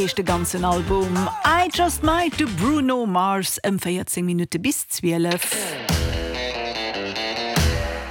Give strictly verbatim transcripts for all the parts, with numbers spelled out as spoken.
Heescht de ganzen Album I Just Might de Bruno Mars ëm véierzéng Minutte bis zwielef.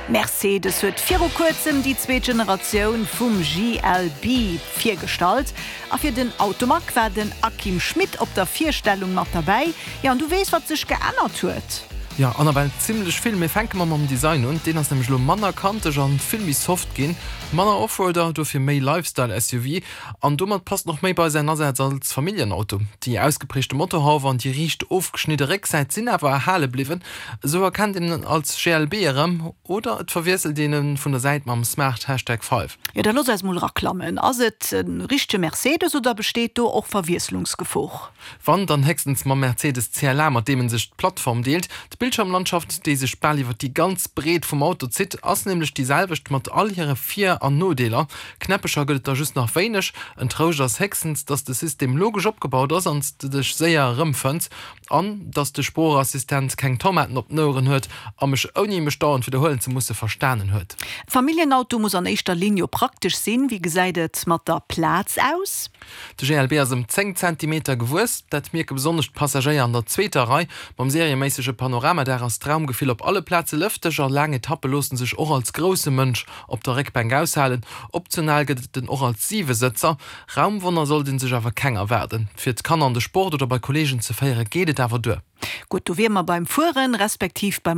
Mercedes huet viru kuerzem déi zweet Generatioun vum G L B virgestallt. A fir den Automag war den Akim Schmit op der Virstellung mat derbäi. Jo, an du weess, wat sech geännert huet? Jo, an nawell zimmlech vill. Mir fänke mol mam Design un. Deen ass nämlech lo manner kanteg an vill méi soft ginn. Manner Offroader, dofir méi Lifestyle-S U V. An domat passt och méi bei säin Asaz als Familljenauto. Déi ausgeprägte Motorhauf an déi riicht ofgeschnidde Récksäit sinn awer erhale bliwwen. Sou erkennt een en als G L B erëm oder et verwiesselt een en vun der Säit mam Smart Hashtag fënnef. Jo, da looss eis mol raklammen. Ass et e richtege Mercedes oder besteet do och Verwiesslungsgefor? Wann, dann héchstens mam Mercedes C L A, mat deem en sech d'Plattform deelt. D'Bildschiermlandschaft, déi sech bal iwwer déi ganz Breet vum Auto zitt, ass nämlech déi selwecht mat all hire Vir an Nodeeler. Knäppecher gëtt et der just nach wéineg. En Trouscht ass héchstens, dass de System logesch opgebaut ass an s de dech séier erëmfënns. An dass de Sproochassistent keng Tomaten op den Oueren huet a mech, ouni mech dauernd widderhuelen ze musse, verstanen huet. Familljenauto muss an éischter Linn jo praktesch sinn. Wéi gesäit et mat der Plaz aus? De G L B ass ëm zéng Zentimeter gewuess. Dat mierke besonnesch d'Passagéier an der zweeter Rei. Mam serieméissege Panoramadaach ass d'Raumgefill op alle Plaze lëfteg a laang Etappe loosse sech och als grousse Mënsch op der Réckbänk aushalen. Optional gëtt et en och als Siwesëtzer. Raumwonner sollt ee sech awer keng erwaarden. Fir d'Kanner an de Sport oder bei Kolleegen ze féiere geet et awer duer. Gutt, do wiere mer beim Fueren, respektiv beim